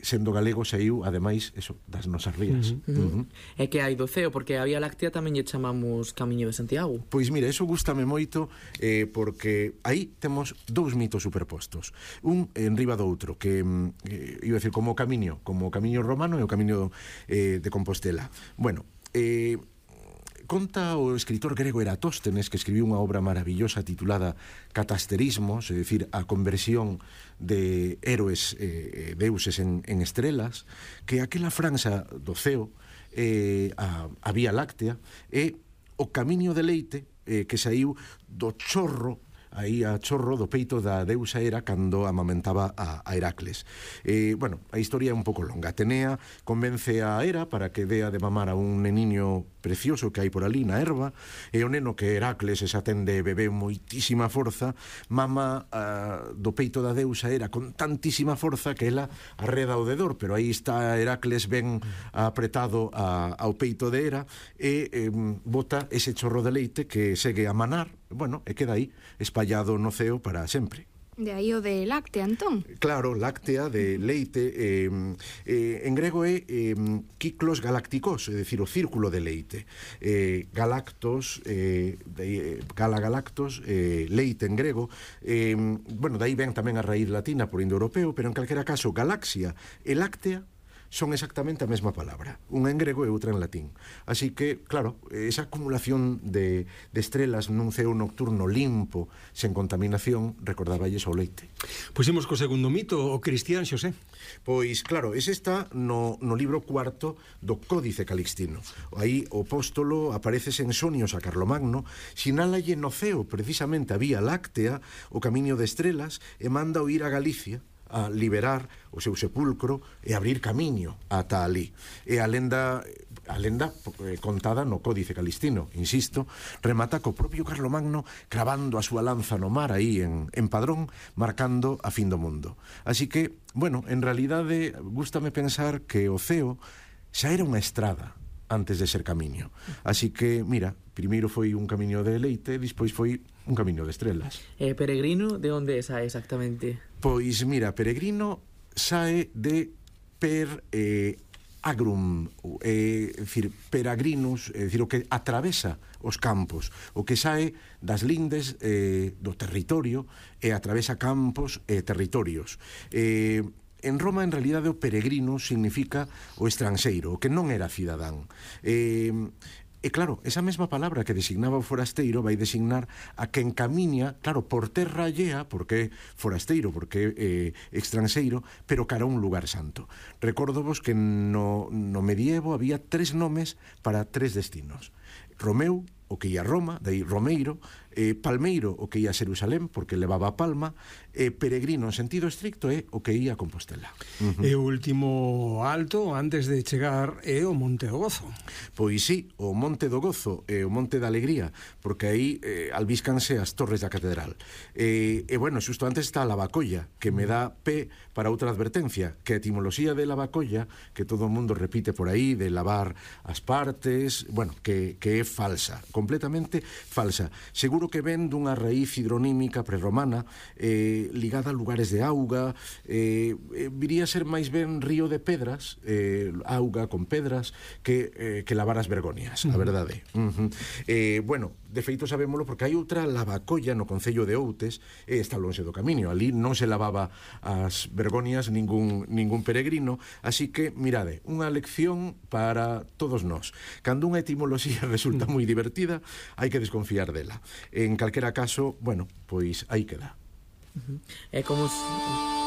sendo galego saiu, ademais, eso, das nosas rías. E que hai do ceo, porque a Vía Láctea tamén lle chamamos Camiño de Santiago. Pois mira, eso gústame moito, porque aí temos dous mitos superpostos, un enriba do outro, que iba a decir como o camiño romano e o camiño de Compostela. Bueno, conta o escritor grego Eratóstenes, que escribiu unha obra maravillosa titulada Catasterismos, é dicir, a conversión de héroes deuses en estrelas, que aquela franxa do ceo, a Vía Láctea, é o camiño de leite que saiu do chorro, aí a chorro do peito da deusa Hera cando amamentaba a Heracles. Bueno, a historia é un pouco longa. Atenea convence a Hera para que dea de mamar a un neniño precioso que hai por ali na erva, e o neno que Heracles esa tende bebé moitísima forza, mama do peito da deusa Hera con tantísima forza que ela arreda o dedor, pero aí está Heracles ben apretado ao peito de Hera e bota ese chorro de leite que segue a manar, bueno, e queda aí espallado no ceo para sempre. De aí o de láctea, entón? Claro, láctea, de leite, en grego é kiklos galácticos, é dicir, o círculo de leite. Galactos, galactos, leite en grego, bueno, daí ven tamén a raíz latina por indoeuropeo, pero en calquera caso, galaxia e láctea son exactamente a mesma palabra, unha en grego e outra en latín. Así que, claro, esa acumulación de estrelas nun ceo nocturno limpo, sen contaminación, recordáballes ao leite. Pois imos co segundo mito, o cristián, Xosé. Pois, claro, ese está no libro cuarto do Códice Calixtino. Aí o apóstolo aparece en sonios a Carlomagno, sinálalle no ceo precisamente a Vía Láctea, o camiño de estrelas, e manda o ir a Galicia a liberar o seu sepulcro e abrir camiño ata ali. E a lenda contada no Códice Calixtino, insisto, remata co propio Carlomagno cravando a súa lanza no mar aí en Padrón, marcando a fin do mundo. Así que, bueno, en realidade gústame pensar que o ceo xa era unha estrada antes de ser camiño. Así que, mira, primeiro foi un camiño de leite, despois foi un camiño de estrelas. Peregrino, de onde sae exactamente? Pois mira, peregrino sae de agrum, é dicir, peregrinos, é dicir, o que atravesa os campos, o que sae das lindes do territorio e atravesa campos e territorios. En Roma, en realidade, o peregrino significa o estranxeiro, o que non era cidadán. E claro, esa mesma palabra que designaba o forasteiro vai designar a quen camiña, claro, por terra allea, porque é forasteiro, porque é estranxeiro, pero cara a un lugar santo. Recórdovos que no medievo había 3 nomes para 3 destinos. Romeu, o que ia a Roma, daí Romeiro, Palmeiro, o que ia a Xerusalén, porque levaba a palma, peregrino en sentido estricto é o que ia a Compostela. E o último alto, antes de chegar, é o Monte do Gozo. Pois sí, o Monte do Gozo e o Monte da Alegría, porque aí albíscanse as torres da catedral. E bueno, xusto antes está a Lavacolla, que me dá pé para outra advertencia, que a etimoloxía de Lavacolla, que todo o mundo repite por aí, de lavar as partes, bueno, que é falsa, completamente falsa. Seguro que ven dunha raíz hidronímica prerromana ligada a lugares de auga, viría a ser máis ben río de pedras, auga con pedras, que lavar as vergonias, a verdade. Bueno, de feito sabémolo porque hai outra Lavacolla no concello de Outes, e está lonxe do camiño, ali non se lavaba as vergonias ningún peregrino, así que, mirade, unha lección para todos nós. Cando unha etimoloxía resulta moi divertida, hai que desconfiar dela. En calquera caso, bueno, pois aí queda. É como